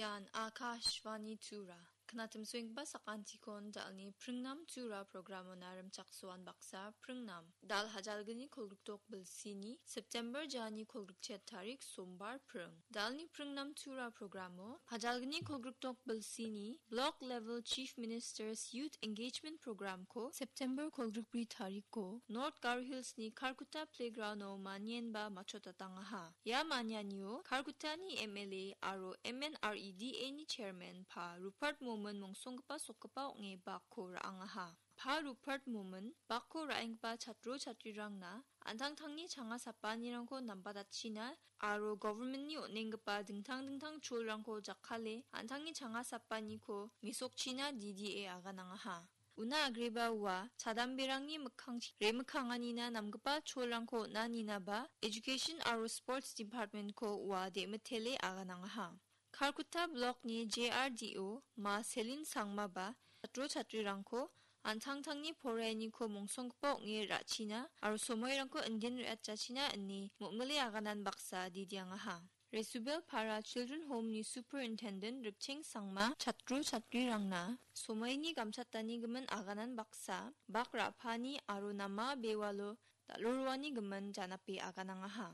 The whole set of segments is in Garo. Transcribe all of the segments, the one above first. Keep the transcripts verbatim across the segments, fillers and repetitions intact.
Ian Akashvani Tura. Knatim suengba sakantikon dalni pringnam Tura programona rimchaksoan baksa pringnam. Dal hajalgni kolgrikdok bilsini September jani kolgrikchet tarik sombar pring. Dalni pringnam Tura programo hajalgni kolgrikdok bilsini Block Level Chief Minister's Youth Engagement Programko September kolgrikbri tariko North Garo Hillsni Karkuta Playgrounduo manienba machotatangaha. Ia manianio Karkutani M L A aro M N R E D A ni chairman Pa Rupert Momin mongsonggipa sokgipa ong·e bakko ra·angaha. Pa Rupert Momin bakko ra·enggipa chatro chatrirangna an·tangtangni changa sapanirangko nambatatchina aro governmentni on·enggipa dingtang dingtang cholrangko jakkale an·tangni changa sapaniko mesokchina D D A aganangaha. Una agreba ua chadamberangni mikkangchi remikkanganina namgipa cholrangko on·aninaba Education aro Sports Departmentko ua de·mitele aganangaha. Karkuta Blockni J R D O Ma Selin Sangmaba chatro chatrirangko an·tangtangni poraianiko mongsonggipa ong·e ra·china aro somoirangko indin re·atchachina ine mo·mile aganan baksa didiangaha. Resubel Para Children Home-ni Superintendent Rikcheng Sangma chatro chatrirangna somoini gamchatanigimin aganan baksa bak ra·pani aro nama bewalo dal·o roanigimin janape aganangaha.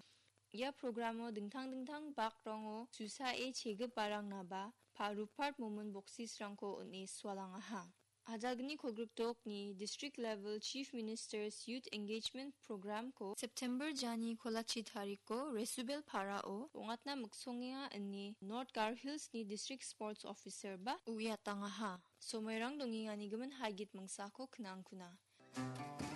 Ia programo dingtang dingtang bakrango susae chegiparangnaba Pa Rupert Momin boksisrangko on·e sualangaha. Hajalgni kolgrikdokni District Level Chief Minister's Youth Engagement Programko September jani kolachi tariko Resubel Parao ong·atna miksongenga ine North Garo Hillsni District Sports Officer ba uiatangaha. Somoirang dongenganigimin haigit mingsako knangkuna.